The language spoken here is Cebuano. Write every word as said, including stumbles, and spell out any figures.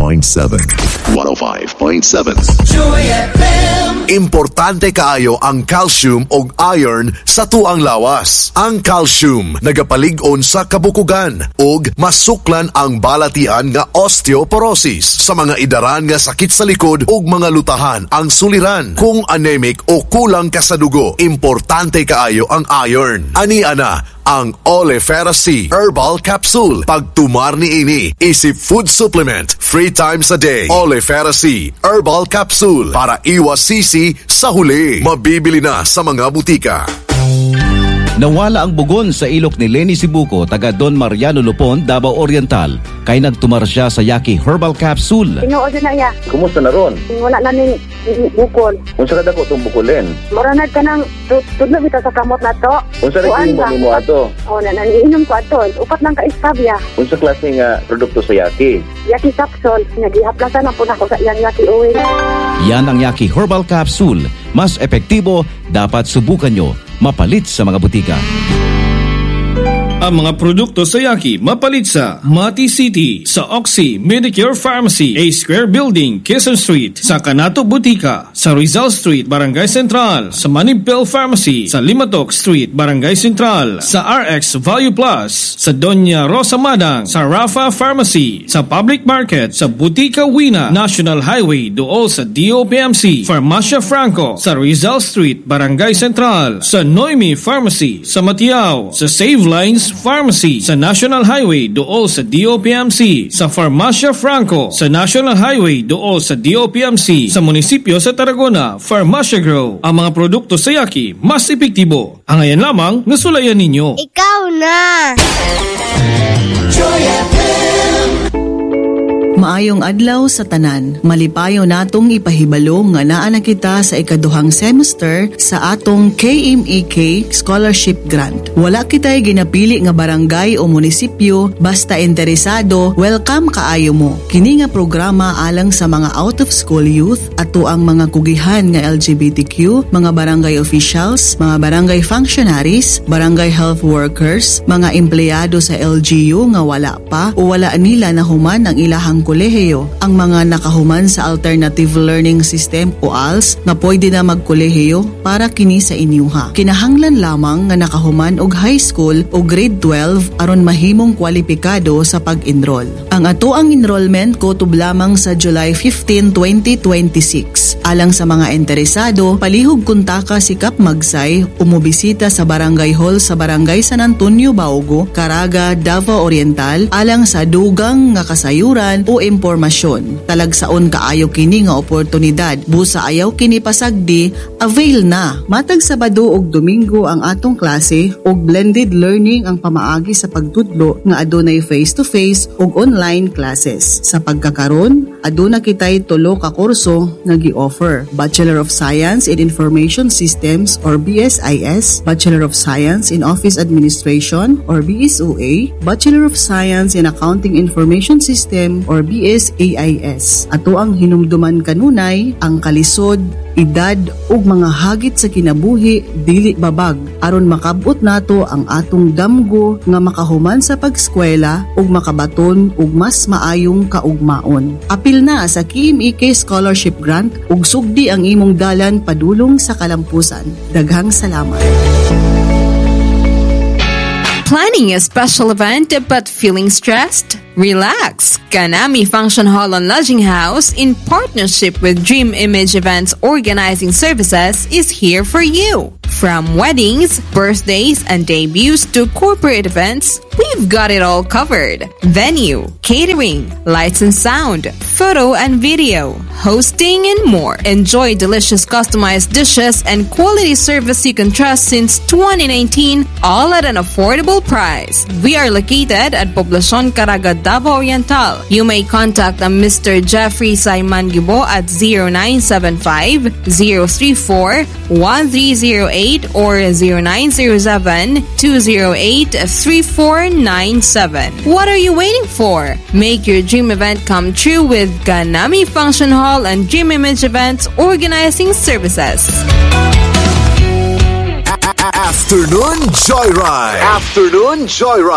one oh five point seven. one oh five point seven. Joy F M. Importante kaayo ang calcium ug iron sa tuang lawas. Ang calcium nagapalig-on sa kabukugan ug masuklan ang balatian nga osteoporosis. Sa mga idaran nga sakit sa likod ug mga lutahan ang suliran. Kung anemic o kulang ka sa dugo, importante kaayo ang iron. Ani ana ang Olefera C Herbal Capsule. Pagtumar ni ini, isip food supplement, three times a day. Olefera C Herbal Capsule para iwas sisi sa huli. Mabibili na sa mga butika. Nawala ang bugon sa ilok ni Lenny Sibuco, taga Don Mariano Lupon, Davao Oriental. Kay nagtumar siya sa Yaki Herbal Capsule. Tinuod na iya. Kumusta na ron? Wala na ning bukol. Unsa ka dako tong bukulin? Mura na ka ng tudlo bitaw sa kamot na to. Unsa ra Kuan mo ba? Nimo ato? Oh, na naniinom ko ato. Upat lang ka istabya. Unsa klase nga produkto sa Yaki? Yaki capsule. Nagihaplasan na po na ako sa iyang Yaki oil. Yan ang Yaki Herbal Capsule. Mas epektibo, dapat subukan nyo. Mapalit sa mga butika. Ang mga produkto sa Yaki mapalit sa Mati City, sa Oxy Medicure Pharmacy, A Square Building, Quezon Street, sa Canato Butika, sa Rizal Street, Barangay Central, sa Manipel Pharmacy, sa Limatok Street, Barangay Central, sa R X Value Plus, sa Doña Rosa Madang, sa Rafa Pharmacy, sa Public Market, sa Butika Wina, National Highway, duol sa D O P M C, Farmacia Franco, sa Rizal Street, Barangay Central, sa Noemi Pharmacy, sa Matiao, sa Save Lines Pharmacy, sa National Highway, duol sa D O P M C, sa Farmacia Franco, sa National Highway, duol sa D O P M C, sa munisipyo sa Tarragona, Farmacia Grow. Ang mga produkto sa Yaki, mas epektibo. Ang ngayon lamang, nasulayan ninyo. Ikaw na! Joy F M. Maayong adlaw sa tanan. Malipayo natong ipahibalo nga naa na kita sa ikaduhang semester sa atong K M E K Scholarship Grant. Wala kita'y ginapili nga barangay o munisipyo, basta interesado, welcome kaayo mo. Kini nga programa alang sa mga out of school youth, ato ang mga kugihan nga L G B T Q, mga barangay officials, mga barangay functionaries, barangay health workers, mga empleyado sa L G U nga wala pa o wala nila nahuman ang ilahang kolehiyo, ang mga nakahuman sa Alternative Learning System o A L S nga pwede na magkolehiyo, para kini sa inyuha. Kinahanglan lamang nga nakahuman og high school o grade twelve aron mahimong kwalipikado sa pag-enroll. Ang ato ang enrollment kutob lamang sa July fifteen, twenty twenty-six. Alang sa mga interesado, palihog kontaka si Kap Magsay o mobisita sa Barangay Hall sa Barangay San Antonio Baugo, Caraga, Davao Oriental alang sa dugang nga kasayuran o impormasyon. Talagsaon kaayo kini nga oportunidad. Busa ayaw kini pasagdi, avail na. Matag Sabado ug Domingo ang atong klase ug blended learning ang pamaagi sa pagtudlo nga adunay face-to-face ug online classes. Sa pagkakaron, aduna kitay tulo ka kurso nga gi-offer: Bachelor of Science in Information Systems or B S I S, Bachelor of Science in Office Administration or B S O A, Bachelor of Science in Accounting Information System or B S A I S. Ato ang hinumduman kanunay ang kalisod, edad ug mga hagit sa kinabuhi dili babag aron makabot nato ang atong damgo nga makahuman sa pagskwela ug makabaton og mas maayong kaugmaon. Apil na sa K M E K Scholarship Grant ug sugdi ang imong dalan padulong sa kalampusan. Daghang salamat. Planning a special event but feeling stressed? Relax! Kanami Function Hall and Lodging House, in partnership with Dream Image Events Organizing Services, is here for you. From weddings, birthdays, and debuts to corporate events, we've got it all covered. Venue, catering, lights and sound, photo and video, hosting, and more. Enjoy delicious customized dishes and quality service you can trust since twenty nineteen, all at an affordable price. We are located at Poblacion Caraga, Davao Oriental. You may contact uh, Mister Jeffrey Simon Gibo at zero nine seven five zero three four one three zero eight or zero nine zero seven two zero eight three four nine seven. What are you waiting for? Make your dream event come true with Ganami Function Hall and Dream Image Events Organizing Services. Afternoon Joyride. Afternoon Joyride.